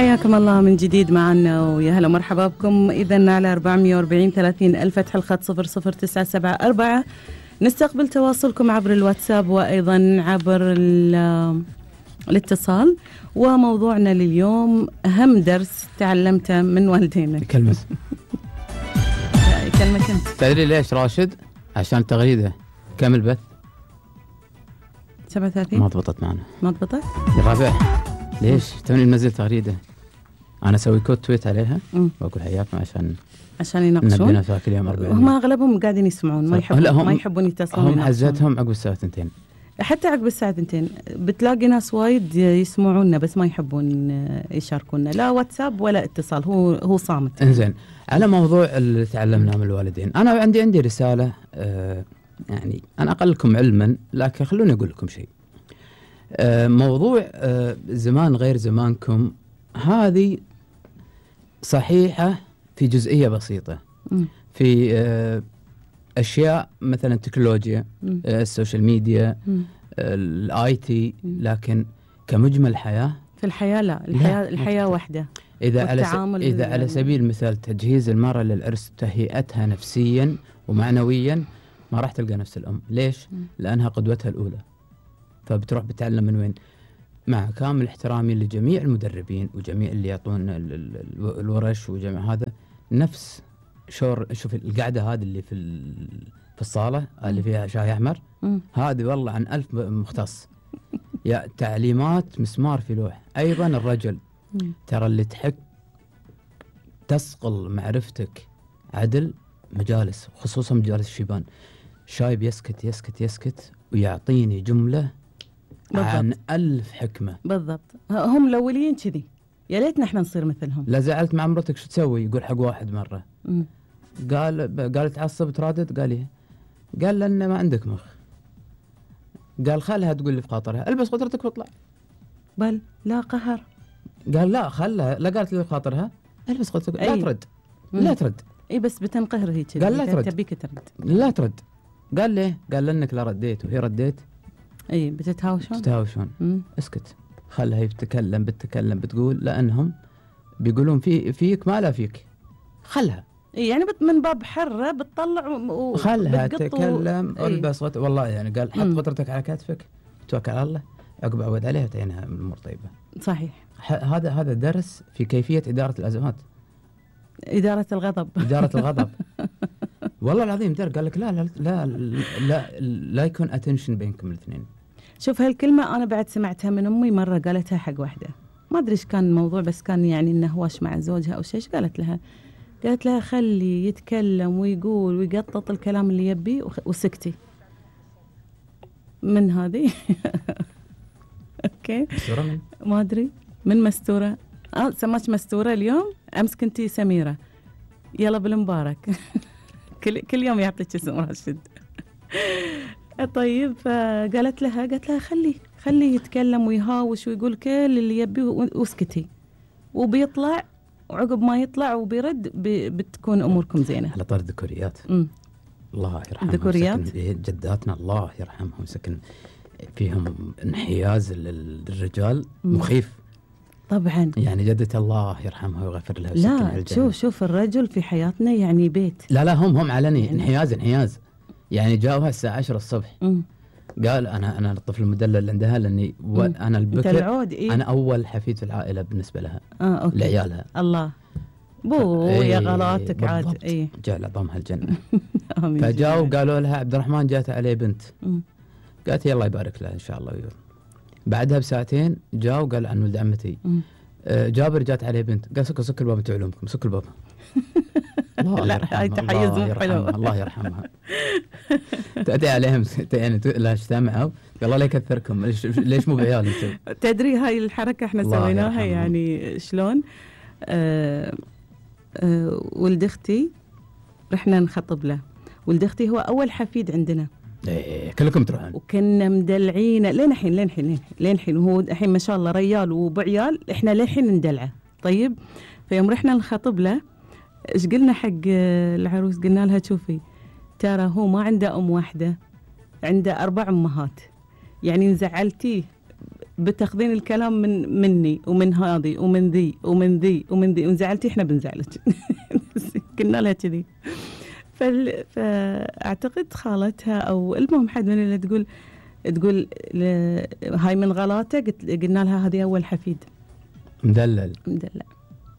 حياكم الله من جديد معنا ويا هلا مرحبا بكم. إذن على 440 30 الفتح الخط 00974 نستقبل تواصلكم عبر الواتساب وأيضا عبر الاتصال. وموضوعنا لليوم أهم درس تعلمته من والدينك. كلمة أنت تدري ليش راشد؟ عشان تغريدة كامل بث 37 ما ضبطت معنا. ما ضبطت يا رافع ليش توني منزل تغريدة أنا أسوي كود تويت عليها وأقول حياكم عشان يناقشون. نبينا فيها كل يوم 40. هم أغلبهم قاعدين يسمعون ما يحبون يتصلون. هم حزتهم عقب الساعة 2 حتى عقب الساعة 2 بتلاقي ناس وايد يسمعونا بس ما يحبون يشاركونا لا واتساب ولا اتصال. هو صامت. انزين على موضوع اللي تعلمناه من الوالدين أنا عندي رسالة يعني أنا أقلكم علما لكن خلوني أقول لكم شيء. موضوع زمان غير زمانكم هذه صحيحة في جزئية بسيطة في أشياء مثلا التكنولوجيا السوشيال ميديا الاي تي لكن كمجمل حياة في الحياة لا الحياة واحدة. إذا على سبيل المثال تجهيز المرأة للعرس تهيئتها نفسيا ومعنويا ما راح تلقى نفس الأم. ليش؟ لأنها قدوتها الأولى فبتروح بتعلم من وين. مع كامل احترامي لجميع المدربين وجميع اللي يعطون الورش وجميع هذا نفس شوف القعدة هذه اللي في الصالة اللي فيها شاي أحمر هذه والله عن 1000 مختص يا تعليمات مسمار في لوح. أيضا الرجل ترى اللي تحك تسقل معرفتك عدل مجالس خصوصا مجالس الشيبان شايب يسكت ويعطيني جملة بالضبط. عن 1000 حكمة بالضبط. هم الأولين كذي يا ليتنا احنا نصير مثلهم. لا زعلت مع مرتك شو تسوي؟ يقول حق واحد مرة قال تعصب ترادد قال لأن ما عندك مخ. قال خلها تقول لي في خاطرها البس قدرتك واطلع. بل لا قهر. قال لا خلها لا قالت لي في خاطرها البس قدرتك لا ترد اي بس بتنقهر هيك. قال لا ترد تبيك ترد لا ترد. قال ليه؟ قال لأنك لا رديت وهي رديت. اي بتتهاوشون اسكت خلها بتتكلم بتقول لأنهم بيقولون فيك ما لا فيك خلها. يعني من باب حرة بتطلع خلها تتكلم البس والله يعني قال حط قدرتك على كتفك توكل على الله عقب عود عليها تعينها من الأمور طيبة. صحيح. هذا درس في كيفية إدارة الأزمات. إدارة الغضب والله العظيم قال لك لا يكون attention بينكم الاثنين. شوف هالكلمة أنا بعد سمعتها من أمي مرة قالتها حق واحدة ما أدري إيش كان الموضوع بس كان يعني إنه هواش مع زوجها أو شيء. قالت لها خلي يتكلم ويقول ويقطط الكلام اللي يبي وسكتي من هذه. أوكي ما أدري من مستورة سماش مستورة اليوم أمس كنتي سميرة يلا بالمبارك. كل يوم يعطيك اسم راشد. طيب قالت لها خلي يتكلم ويهاوش ويقول كل اللي يبي واسكتي وبيطلع وعقب ما يطلع وبيرد بتكون أموركم زينة. على طار الذكوريات الله يرحمهم ذكوريات جداتنا الله يرحمهم سكن فيهم انحياز للرجال مخيف طبعا. يعني جدة الله يرحمها ويغفر لها. لا شوف الرجل في حياتنا يعني بيت. لا هم علني يعني انحياز يعني جاوها الساعة 10 الصبح قال أنا الطفل المدلل اللي عندها لأني أنا البكر أنا أول حفيد في العائلة بالنسبة لها لعيالها. الله يا غلاتك عاد جعل عظامها الجنة. فجاوا قالوا لها عبد الرحمن جات عليه بنت قالت يلا يبارك لها إن شاء الله. بعدها بساعتين جاوا قال عن ولد عمتي جابر جات عليه بنت قال سك الباب تعلمكم سك الباب. الله يرحمها الله يرحمها. تأتي عليهم يعني لا اجتمعوا قال الله لا يكثركم ليش مو بعيال انتم. تدري هاي الحركة احنا سويناها يعني شلون ولد اختي رحنا نخطب له. ولد اختي هو أول حفيد عندنا كلكم تروحون وكنا مدلعينه لين حين وهو الحين ما شاء الله ريال وبعيال احنا للحين ندلعه. طيب فيوم رحنا نخطب له ايش قلنا حق العروس؟ قلنا لها شوفي ترى هو ما عنده أم واحدة عنده 4 أمهات يعني نزعلتيه بتاخذين الكلام مني ومن هذه ومن ذي ومن ذي ومن ذي، وانزعلتي احنا بنزعلك. قلنا لها كذي. فاعتقد خالتها او المهم حد من اللي تقول هاي من غلاته، قلنا لها هذه اول حفيد مدلل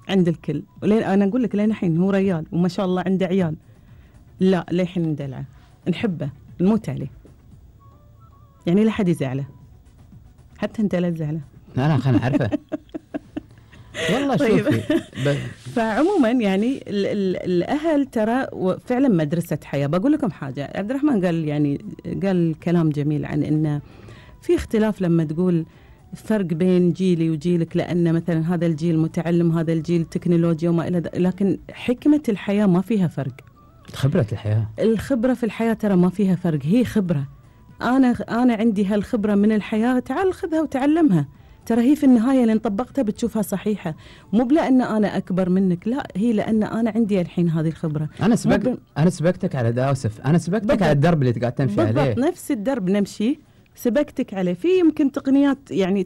عند الكل. ولين انا اقول لك لين الحين هو ريال وما شاء الله عنده عيال، لا للحين ندلعه نحبه نموت عليه، يعني لا حد يزعله، حتى انت لا تزعله. انا خلنا عارفه. والله شوفي فعموما يعني الاهل ترى فعلا مدرسه حياه. بقول لكم حاجه، عبد الرحمن قال كلام جميل عن انه في اختلاف لما تقول فرق بين جيلي وجيلك، لان مثلا هذا الجيل متعلم، هذا الجيل تكنولوجيا وما الى ذلك، لكن حكمه الحياه ما فيها فرق. خبره الحياه، الخبره في الحياه ترى ما فيها فرق، هي خبره. انا عندي هالخبره من الحياه، تعال خذها وتعلمها، ترى هي في النهايه لين طبقتها بتشوفها صحيحه، مو بلان انا اكبر منك، لا هي لان انا عندي الحين هذه الخبره. انا سبقتك على داوسف، انا سبقتك بالضبط على الدرب اللي قاعد تمشي عليه، بالضبط نفس الدرب نمشي، سبقتك عليه. في يمكن تقنيات، يعني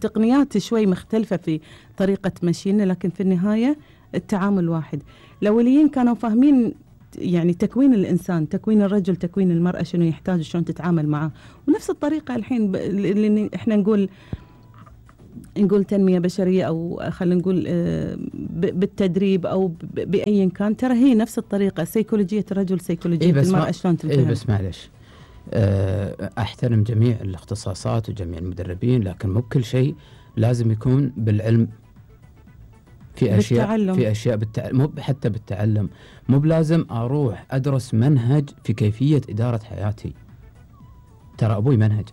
تقنيات شوي مختلفه في طريقه مشينا، لكن في النهايه التعامل واحد. الاوليين كانوا فاهمين يعني تكوين الإنسان، تكوين الرجل، تكوين المرأة، شنو يحتاج شلون تتعامل معه. ونفس الطريقة الحين اللي احنا نقول تنمية بشرية، أو خلينا نقول بالتدريب أو بأي كان، ترى هي نفس الطريقة. سيكولوجية الرجل، سيكولوجية المرأة، شلون تنتهي. بس معلش، أحترم جميع الاختصاصات وجميع المدربين، لكن مو كل شيء لازم يكون بالعلم. في أشياء مو حتى بالتعلم، مو بلازم أروح أدرس منهج في كيفية إدارة حياتي. ترى أبوي منهج،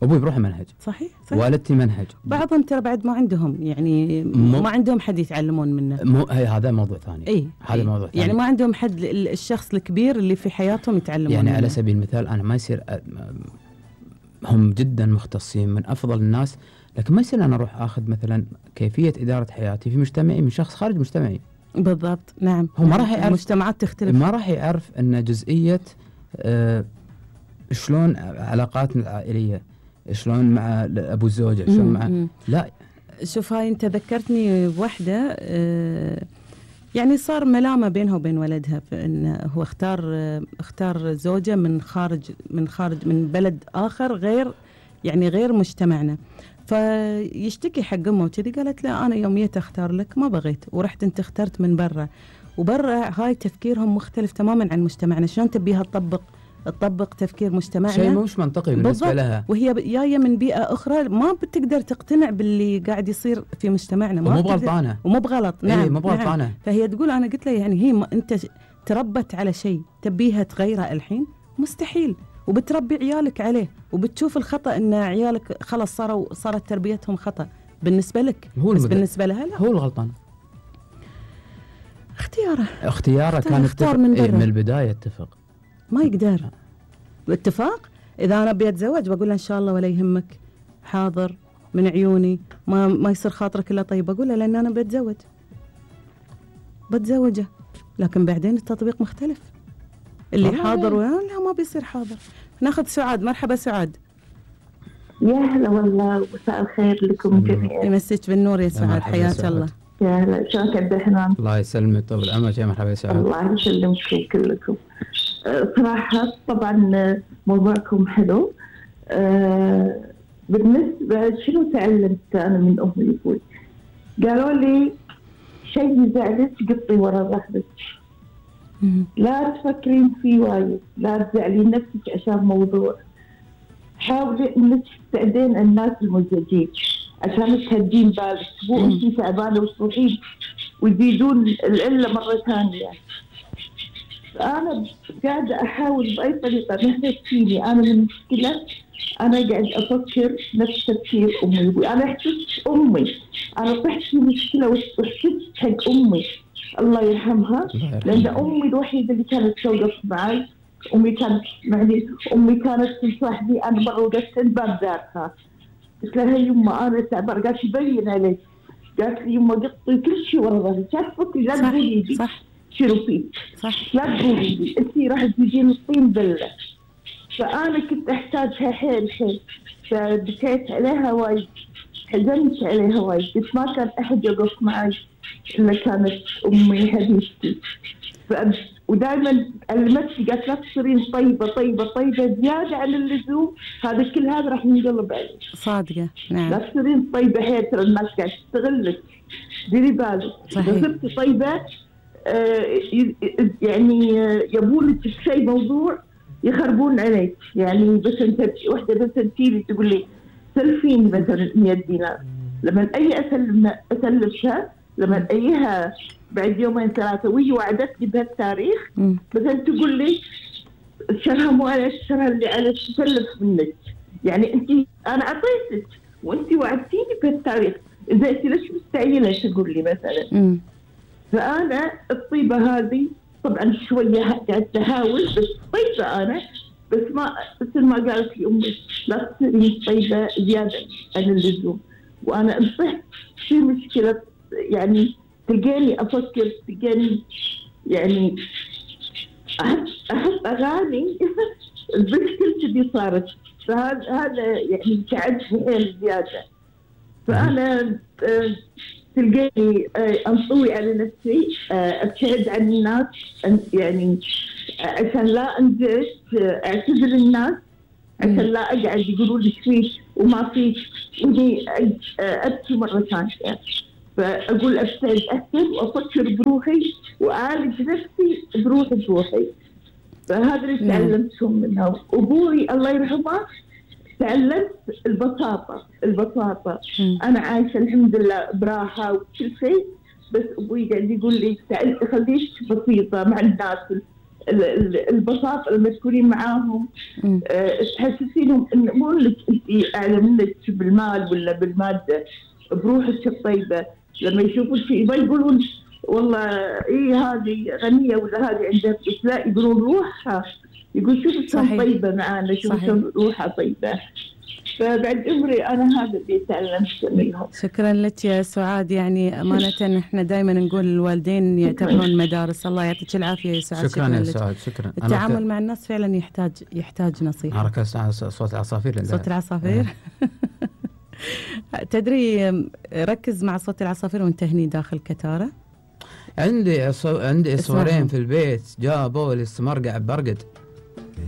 أبوي بروح منهج، صحيح. والدتي منهج. بعضهم ترى بعد ما عندهم، يعني ما عندهم حد يتعلمون منه. هذا موضوع ثاني. هذا موضوع ثاني. يعني ما عندهم حد، الشخص الكبير اللي في حياتهم يتعلمون يعني منه. على سبيل المثال أنا ما يصير، هم جدا مختصين من أفضل الناس، لكن ما يصير أنا أروح أخذ مثلا كيفية إدارة حياتي في مجتمعي من شخص خارج مجتمعي. بالضبط، نعم. هو ما راح يعرف، المجتمعات تختلف، ما راح يعرف أن جزئية شلون علاقاتنا العائلية، شلون مع أبو الزوجة، شلون مع لا. شوف، هاي أنت ذكرتني بوحدة، يعني صار ملامة بينها وبين ولدها، فإن هو اختار زوجة من خارج من بلد آخر، غير مجتمعنا. فيشتكي حق امه وكذي، قالت لا انا يوم جيت اختار لك ما بغيت، ورحت انت اخترت من برا، وبرا هاي تفكيرهم مختلف تماما عن مجتمعنا. شلون تبيها تطبق تفكير مجتمعنا؟ شيء مش منطقي بالنسبه لها، وهي جايه من بيئه اخرى، ما بتقدر تقتنع باللي قاعد يصير في مجتمعنا. ومو بغلطانه، ومو بغلط. نعم، مو بغلطانه. نعم. فهي تقول انا قلت لها يعني هي انت تربت على شيء تبيها تغيره الحين؟ مستحيل. وبتربي عيالك عليه، وبتشوف الخطأ ان عيالك خلاص صارت تربيتهم خطأ بالنسبة لك، بس بالنسبة لها لا، هو الغلطان. اختياره كان اختار من البداية. اتفق، ما يقدر اتفاق. اذا انا ابي اتزوج بقول له ان شاء الله ولا يهمك، حاضر من عيوني، ما يصير خاطرك الا طيب، اقول له لان انا بتزوجه. لكن بعدين التطبيق مختلف، اللي حاضر لا ما بيصير حاضر. ناخذ سعاد. مرحبا سعاد. يا هلا والله، مساء الخير لكم جميعا. يمسك بالنور يا سعاد، حياك الله. يا هلا، شلونك عبد الرحمن؟ الله يسلمك، طول عمرك. يا مرحبا يا سعاد. الله يسلمكم كلكم. صراحة طبعا موضوعكم حلو. بالنسبة شنو تعلمت أنا من أمي وأبوي؟ قالوا لي شيء يزعلك قطي ورا ظهرك، لا تفكرين فيه وايد، لا تزعلين نفسك عشان موضوع، حاولي انك تساعدين الناس المزعجين عشان تهدين بالك، مو انتي تعبانه وتروحين ويزيدون العله مره ثانيه. فانا قاعده احاول باي طريقه مهما تجيني انا من مشكله، انا قاعد افكر نفس تفكير امي وابوي. انا احسست امي، انا طحت في مشكله واحسست حق امي الله يرحمها، لان امي الوحيده اللي كانت توقف معي. امي كانت معني، امي كانت تصاحبي انا مره وقفت الباب ذاتها، قلت لها يما انا تعبانه، قالت يبين عليك، قالت لي يما قطي كل شيء ورا ظهري، كانت تفكري لا تقولي لي شنو فيه، لا تقولي لي انت راح تجيني الطين بله. فانا كنت احتاجها حيل حيل، فبكيت عليها وايد، حزنت عليها وايد، قلت ما كان أحد يقف معي إلا كانت أمي حبيبتي. ودائما علمتني قالت لا تصيرين طيبة طيبة طيبة زيادة عن اللزوم، هذا كل هذا راح ينقلب عليك. صادقة، نعم. لا تصيرين طيبة حيل، ترى الناس قاعد تستغلك، ديري بالك. إذا صرتي طيبة يعني يبونك بشيء موضوع يخربون عليك. يعني بس انت وحده بس تجيلي تقول لي سلفيني مثلا 100 دينار، لما اي اسلفها، لما ايها بعد يومين ثلاثه وهي وعدتني بهالتاريخ، مثلا تقول لي الشرها مو على الشرها اللي على تسلف منك. يعني انت انا اعطيتك وانت وعدتيني بهالتاريخ، اذا انت ليش مستعجله تقول لي مثلا؟ فانا الطيبه هذه طبعا شويه قاعد تحاول، بس طيبه انا، بس ما مثل ما قالت لي امي لا تصيري طيبه زياده عن اللزوم. وانا انصحت في مشكله، يعني تلقاني افكر، تلقاني يعني احط اغاني المشكله دي صارت، فهذا يعني تعبني حيل زياده. فانا تلقاني انطوي على نفسي، ابتعد عن الناس، يعني عشان لا انزعج، اعتذر الناس عشان لا اقعد يقولوا لي فيك وما فيك، ودي ابكي مره ثانيه. فاقول ابتعد اكثر وافكر بروحي واعالج نفسي بروحي. فهذا اللي تعلمتهم منها. ابوي الله يرحمه تعلمت البساطة. أنا عايشة الحمد لله براحة وكل شيء، بس أبوي قاعد يقول لي خليك بسيطة مع الناس. البساطة لما تكونين معاهم تحسسينهم إن مو لك أنت أعلى منك بالمال ولا بالمادة، بروحك الطيبة. لما يشوفون شيء ما يقولون والله إيه هذه غنية ولا هذه عندها، بس لا يقولون روحها، يقول شوف شلون طيبة معانا، شوف شلون روحها طيبة. فبعد عمري أنا هذا اللي تعلمت منهم. شكرا لك يا سعاد. يعني أمانة إحنا دائما نقول الوالدين يعتبرون مدارس. الله يعطيك العافية يا سعاد. شكرا يا سعاد. شكرا. التعامل مع الناس فعلا يحتاج نصيحة. حركة صوت العصافير. صوت العصافير. تدري ركز مع صوت العصافير وانت هني داخل كتارة. عندي صورين في البيت جابوا لي مرقع برقد